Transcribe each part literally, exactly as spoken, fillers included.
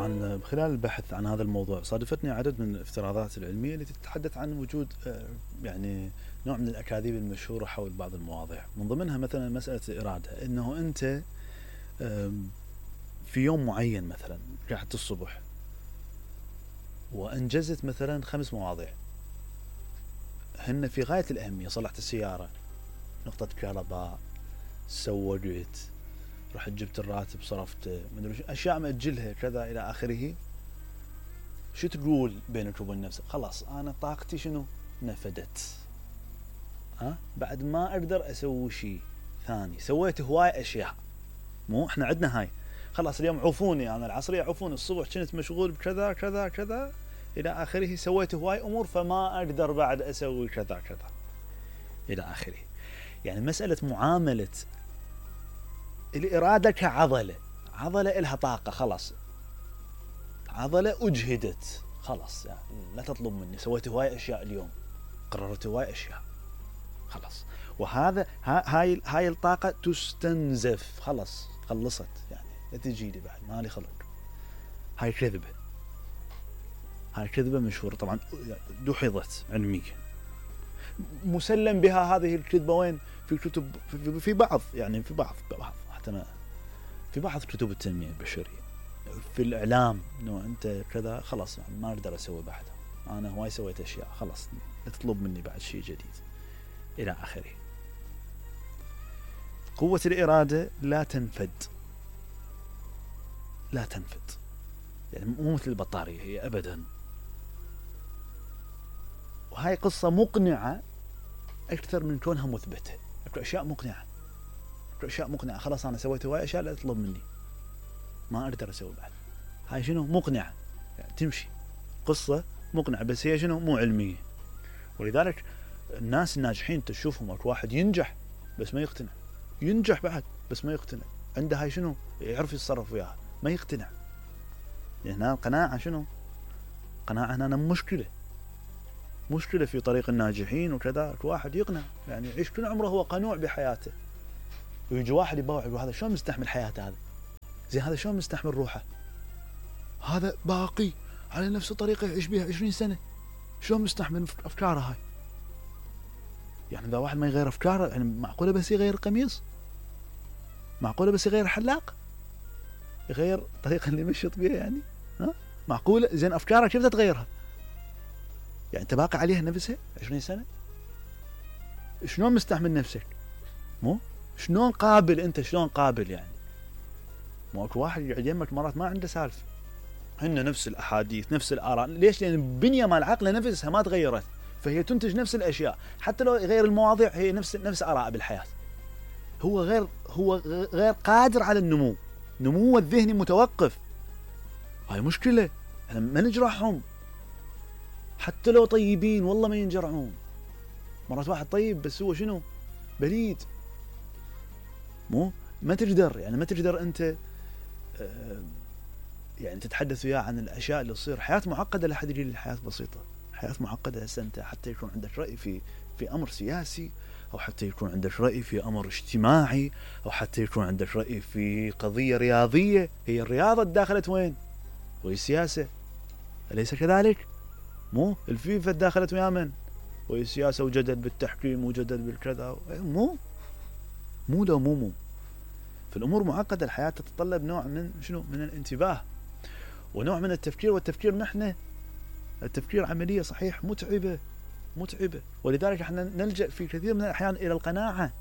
طبعا خلال البحث عن هذا الموضوع صادفتني عدد من الافتراضات العلمية التي تتحدث عن وجود يعني نوع من الأكاذيب المشهورة حول بعض المواضيع، من ضمنها مثلا مسألة الإرادة، إنه أنت في يوم معين مثلا رحت الصبح وأنجزت مثلا خمس مواضيع هن في غاية الأهمية، صلحت السيارة، نقطة كهرباء، سوقت، رحت جبت الراتب صرفته، مدري أشياء مأجلها كذا إلى آخره. شو تقول بينك وبين نفسك؟ خلاص أنا طاقتي شنو نفدت، ها بعد ما أقدر أسوي شيء ثاني، سويت هواي أشياء. مو إحنا عندنا هاي خلاص اليوم عفوني، أنا العصرية عفوني، الصبح كنت مشغول بكذا كذا كذا إلى آخره، سويت هواي أمور فما أقدر بعد أسوي كذا كذا إلى آخره. يعني مسألة معاملة الإرادة كعضلة، عضلة إلها طاقة، خلاص عضلة أجهدت، خلاص يعني لا تطلب مني، سويت هواي أشياء اليوم، قررت هواي أشياء، خلاص. وهذا هاي هاي الطاقة تستنزف، خلاص خلصت، يعني لا تجي لي بعد، مالي خلق. هاي كذبة، هاي كذبة مشهورة طبعا، دحضت علميا، مسلم بها هذه الكذبة وين؟ في كتب، في, في بعض يعني في بعض بعض حتى في بعض كتب التنمية البشرية، في الإعلام، إنه أنت كذا خلاص ما أقدر أسوي بعدها، أنا هواي سويت أشياء، خلاص لا تطلب مني بعد شيء جديد إلى آخره. قوة الإرادة لا تنفد، لا تنفد، يعني مو مثل البطارية هي أبدا. وهاي قصة مقنعة أكثر من كونها مثبتة، أكو أشياء مقنعة، أكو أشياء مقنعة، خلاص أنا سويت هواي أشياء لا تطلب مني، ما أقدر أسوي بعد. هاي شنو؟ مقنعة، يعني تمشي قصة مقنعة، بس هي شنو؟ مو علمية. ولذلك الناس الناجحين تشوفهم، أكو واحد ينجح بس ما يقتنع، ينجح بعد بس ما يقتنع، عنده هاي شنو؟ يعرف يتصرف وياها، ما يقتنع. يعني هنا القناعة شنو؟ قناعة هنا مشكلة، مشكلة في طريق الناجحين وكذا. واحد يقنع يعني يعيش كل عمره هو قنوع بحياته، ويجي واحد يباوع يقول هذا شلون مستحمل حياته، هذا زي هذا شلون مستحمل روحه، هذا باقي على نفس الطريقة يعيش بها عشرين سنة، شلون مستحمل أفكاره هاي؟ يعني إذا واحد ما يغير أفكاره، يعني معقولة بس يغير قميص؟ معقولة بس يغير حلاق؟ يغير الطريقة اللي مشيت بها يعني؟ ها؟ معقولة؟ زين أفكاره كيف تتغيرها؟ يعني أنت باقي عليها نفسها عشرين سنة؟ شلون مستحمل نفسك؟ مو؟ شلون قابل أنت؟ شلون قابل يعني؟ مو أكو واحد يقعد يمك مرات ما عنده سالفة، هن نفس الأحاديث نفس الآراء، ليش؟ لأن البنية مال العقل نفسها ما تغيرت، فهي تنتج نفس الأشياء، حتى لو غير المواضيع هي نفس نفس آراء بالحياة. هو غير هو غير قادر على النمو، نموه الذهني متوقف. هاي مشكلة، احنا ما نجرحهم، حتى لو طيبين والله ما ينجرعون. مرات واحد طيب بس هو شنو؟ بليد، مو ما تقدر يعني ما تقدر أنت آه يعني تتحدث وياه عن الأشياء اللي تصير. حياة معقدة لحد يجي الحياة بسيطة، حياة معقدة هسه أنت حتى يكون عندك رأي في في أمر سياسي، أو حتى يكون عندك رأي في أمر اجتماعي، أو حتى يكون عندك رأي في قضية رياضية، هي الرياضة داخلت وين؟ وهي السياسة، أليس كذلك؟ مو الفيفا داخلت ويا من؟ وهي السياسة، وجدل بالتحكيم وجدل بالكذا، مو مو لو مو مو في الأمور معقدة. الحياة تتطلب نوع من شنو؟ من الانتباه ونوع من التفكير، والتفكير نحن التفكير عملية صحيح متعبة متعبة، ولذلك احنا نلجأ في كثير من الأحيان إلى القناعة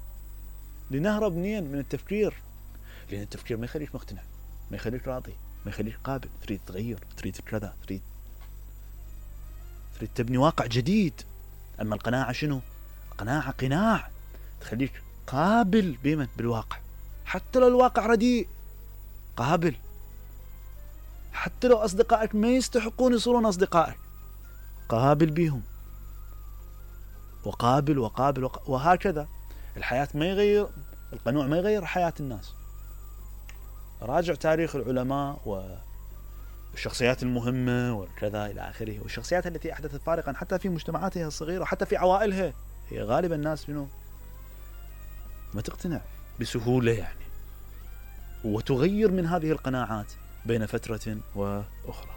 لنهرب منين؟ من التفكير، لأن التفكير ما يخليك مقتنع، ما يخليك راضي، ما يخليك قابل، تريد تغير، تريد كذا، تريد تريد تبني واقع جديد. أما القناعة شنو؟ قناعة قناع تخليك قابل بمن؟ بالواقع، حتى لو الواقع رديء قابل، حتى لو أصدقائك ما يستحقون يصيرون أصدقائك قابل بيهم، وقابل وقابل وق... وهكذا. الحياة ما يغير القنوع، ما يغير حياة الناس. راجع تاريخ العلماء والشخصيات المهمة وكذا إلى آخره، والشخصيات التي أحدثت فارقا حتى في مجتمعاتها الصغيرة، حتى في عوائلها، هي غالبا الناس منه ما تقتنع بسهولة يعني، وتغير من هذه القناعات بين فترة وأخرى.